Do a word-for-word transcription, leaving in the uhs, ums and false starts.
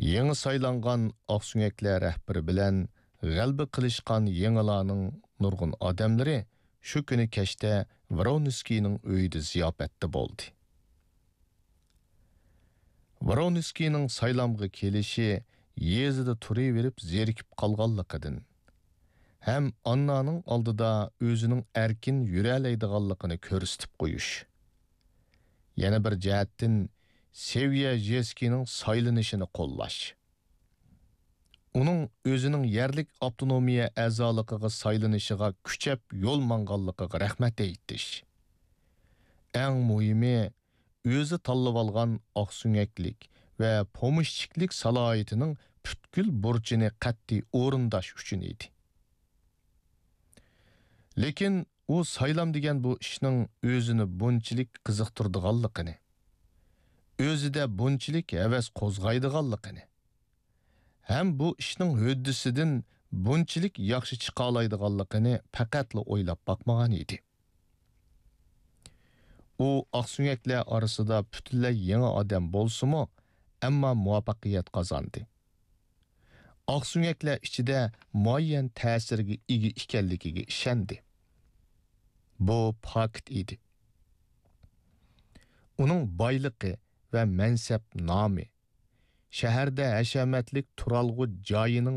يېڭى سايلانغان ئاقسۆڭەكلەر رەھبىرى بىلەن غەلىبە قىلىشقان يېڭىلارنىڭ نۇرغۇن ئادەملىرى شۇ كۈنى كەچتە ۋرونسكىينىڭ ئۆيىدە زىياپەتتە بولدى. ۋرونسكىينىڭ سايلامغا كېلىشى يېزىدا تۇرۇۋېرىپ زېرىكىپ قالغانلىقىدىن ھەم ئاننانىڭ ئالدىدا ئۆزىنىڭ ئەركىن يۈرەلەيدىغانلىقىنى كۆرسىتىپ قويۇش، يەنە بىر جەھەتتىن سېۋيەژېسكىينىڭ سايلىنىشىنى قوللاش، ئۇنىڭ ئۆزىنىڭ يەرلىك ئاپتونومىيە ئەزالىقىغا سايلىنىشىغا كۈچەپ يول ماڭغانلىقىغا رەھمەت ئېيتىش، ئەڭ مۇھىمى، ئۆزى تاللىۋالغان ئاقسۆڭەكلىك ۋە پومېشچىكلىك سالاھىيىتىنىڭ پۈتكۈل بۇرچىنى قەتئىي ئورۇنداش ئۈچۈن ئىدى. لېكىن ئۇ سايلام دېگەن بۇ ئىشنىڭ ئۆزىنى بۇنچىلىك قىزىقتۇرىدىغانلىقىنى، ئۆزىدە بۇنچىلىك ھەۋەس قوزغايدىغانلىقىنى، ھەم بۇ ئىشنىڭ ھۆددىسىدىن بۇنچىلىك ياخشى چىقالايدىغانلىقىنى پەقەتلا ئويلاپ باقمىغان ئىدى. ئۇ ئاقسۆڭەكلەر ئارىسىدا پۈتۈنلەي يېڭى ئادەم بولسىمۇ، ئەمما مۇۋەپپەقىيەت قازاندى. ئاقسۆڭەكلەر ئىچىدە مۇئەييەن تەسىرگە ئىگە ئىكەنلىكىگە ئىشەندى. بۇ پاكىت ئىدى. ئۇنىڭ بايلىقى ۋە مەنسەپ نامى، شەھەردە ھەشەمەتلىك تۇرالغۇ جايىنىڭ